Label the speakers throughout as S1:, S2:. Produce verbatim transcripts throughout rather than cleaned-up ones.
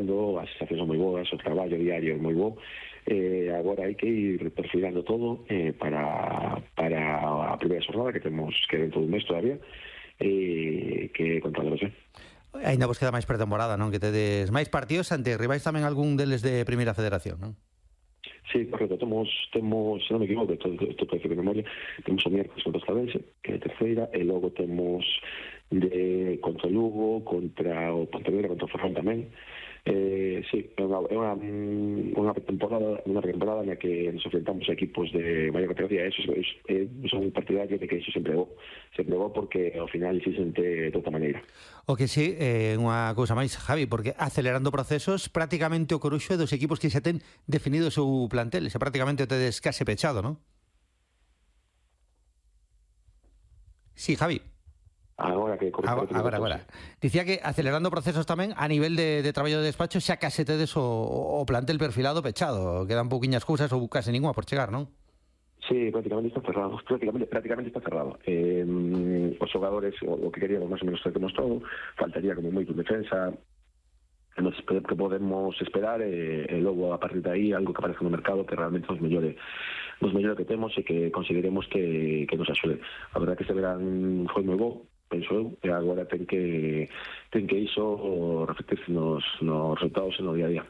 S1: traballando, as sensacións son moi boas, o traballo diario é moi bo. Eh, agora hai que ir perfilando todo eh, para, para a primeira xornada que temos que dentro dun mes todavía, eh, que controlamos ben.
S2: Ainda vos queda máis pretemporada, non? Que tedes máis partidos ante rivais tamén algún deles de Primeira Federación, non?
S1: Sí, correcto, temos, temos, se non me equivoco, isto parece de memoria, temos o miércoles contra o Estadense, que é a terceira, e logo temos de contra o Lugo, contra o Pontevedra, contra o Ferrol tamén. Eh, sí, é unha, é unha, unha temporada unha temporada na que nos enfrentamos a equipos de maior categoría. Eso, eso, eso, son partidarios de que iso sempre é bo, sempre é bo porque ao final se sente de outra maneira.
S2: O que sí, eh, unha cousa máis, Javi, porque acelerando procesos, prácticamente o Coruxo é dos equipos que xa ten definido o seu plantel, xa prácticamente o tedes case pechado, non? Sí, Javi.
S1: Agora que
S2: agora, agora, agora. Dicía que acelerando procesos tamén a nivel de, de traballo de despacho xa case tedes o, o plantel perfilado pechado, quedan pouquiñas cousas ou case ninguna por chegar, non?
S1: Sí, prácticamente está cerrado, prácticamente, prácticamente está cerrado. Eh, os xogadores, o, o que queríamos máis ou menos temos todo, faltaría como moito defensa, que podemos esperar e, e logo a partir de aí algo que aparece no mercado que realmente nos mellore nos mellore que temos e que consideremos que, que nos axude. A verdade que este verán foi moi bo, penso eu, e agora ten que ten que iso reflectirse nos, nos resultados e no día a día.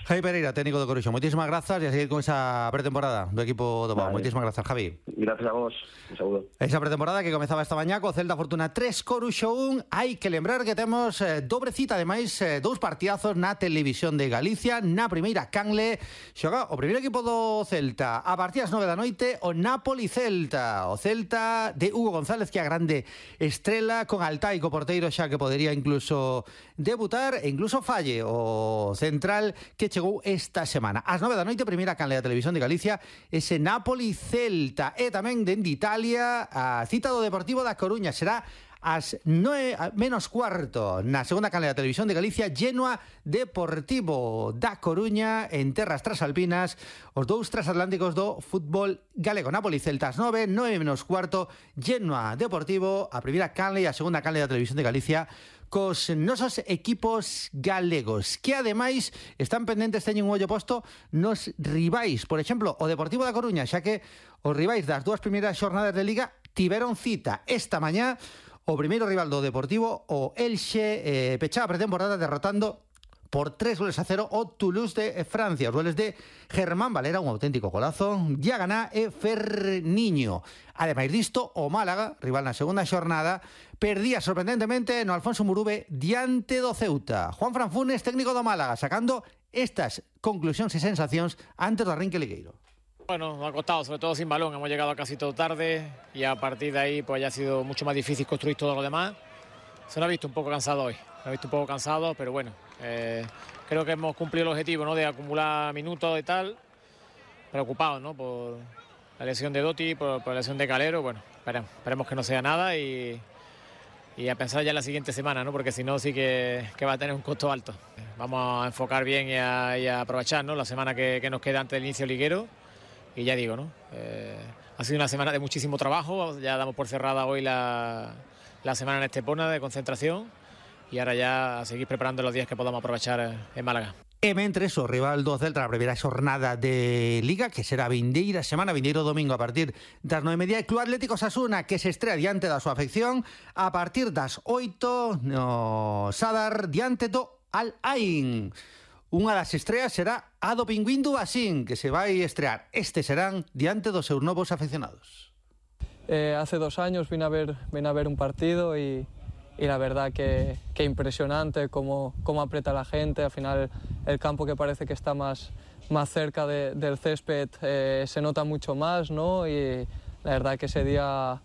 S2: Javi Pereira, técnico do Coruxo, moitísimas grazas e a seguir con esa pretemporada do equipo do Pau. Vale. Moitísimas grazas, Javi.
S1: Gracias a vos, un saúdo.
S2: Esa pretemporada que comezaba esta mañá co Celta Fortuna tres, Coruxo un. Hai que lembrar que temos eh, dobre cita, ademais, eh, dous partidazos na televisión de Galicia. Na primeira canle xoga o primeiro equipo do Celta a partir das nove da noite, o Napoli-Celta. O Celta de Hugo González, que é a grande estrela, con Altai co porteiro xa que podería incluso debutar e incluso falle o central que chegou esta semana. Ás nove da noite, primeira canle da televisión de Galicia, ese Napoli-Celta. E tamén dende Italia, a cita do Deportivo da Coruña será ás nove menos cuarto na segunda canle da televisión de Galicia, Genoa Deportivo da Coruña en terras trasalpinas, os dous transatlánticos do fútbol galego. Napoli-Celta ás nove, nove menos cuarto, Genoa Deportivo, a primeira canle e a segunda canle da televisión de Galicia cos nosos equipos galegos, que ademais están pendentes, teñen un ollo posto nos rivais. Por exemplo, o Deportivo da Coruña, xa que os rivais das dúas primeiras xornadas de Liga tiveron cita esta mañá. O primeiro rival do Deportivo, o Elxe, eh, pechaba a pretemporada derrotando por tres goles a cero o Toulouse de Francia. Os goles de Germán Valera, un auténtico golazo, Diaganá e Ferniño. Ademais disto, o Málaga, rival na segunda xornada, perdía sorprendentemente no Alfonso Murube diante do Ceuta. Juan Fran Funes, técnico do Málaga, sacando estas conclusións e sensacións antes do arranque ligueiro.
S3: Bueno, nos ha costado, sobre todo sin balón, hemos llegado casi todo tarde y a partir de ahí pues ya ha sido mucho más difícil construir todo lo demás. Se nos ha visto un poco cansado hoy, se nos ha visto un poco cansado, pero bueno, eh, creo que hemos cumplido el objetivo, ¿no?, de acumular minutos y tal, preocupados, ¿no?, por la lesión de Dotti, por, por la lesión de Calero. Bueno, esperemos, esperemos que no sea nada y, y a pensar ya en la siguiente semana, ¿no?, porque si no sí que, que va a tener un costo alto. Vamos a enfocar bien y a, y a aprovechar, ¿no?, la semana que, que nos queda antes del inicio liguero. Y ya digo, ¿no? Eh, ha sido una semana de muchísimo trabajo, ya damos por cerrada hoy la, la semana en Estepona de concentración y ahora ya a seguir preparando los días que podamos aprovechar en Málaga.
S2: E mentres o rival do Celta na primeira xornada de Liga, que será vindeira semana, vindeiro domingo a partir das nove e media, e Club Atlético Osasuna, que se estrea diante da súa afección a partir das oito no Sadar diante do Al Ain. Unha das estreas será a do Pingüín do Basín, que se vai estrear. Este serán diante dos seus novos afeccionados.
S4: Eh, hace dos años vine a ver, vine a ver un partido y, y la verdad que, que impresionante cómo, cómo aprieta la gente. Al final el campo, que parece que está más, más cerca de, del césped, eh, se nota mucho más, ¿no? Y la verdad que ese día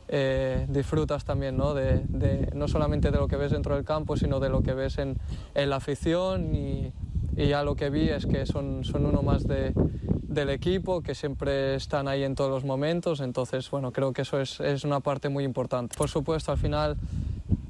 S4: eh, disfrutas también, ¿no? De, de, no solamente de lo que ves dentro del campo, sino de lo que ves en, en la afición. Y, y ya lo que vi es que son, son uno más de, del equipo, que siempre están ahí en todos los momentos. Entonces, bueno, creo que eso es, es una parte muy importante. Por supuesto, al final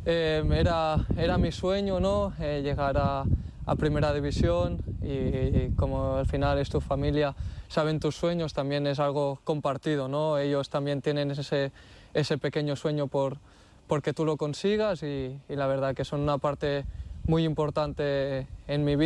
S4: eh, era, era mi sueño, ¿no? Eh, llegar a, a Primera División y, y como al final es tu familia, saben tus sueños, también es algo compartido, ¿no? Ellos también tienen ese, ese pequeño sueño por, porque tú lo consigas y, y la verdad que son una parte muy importante en mi vida.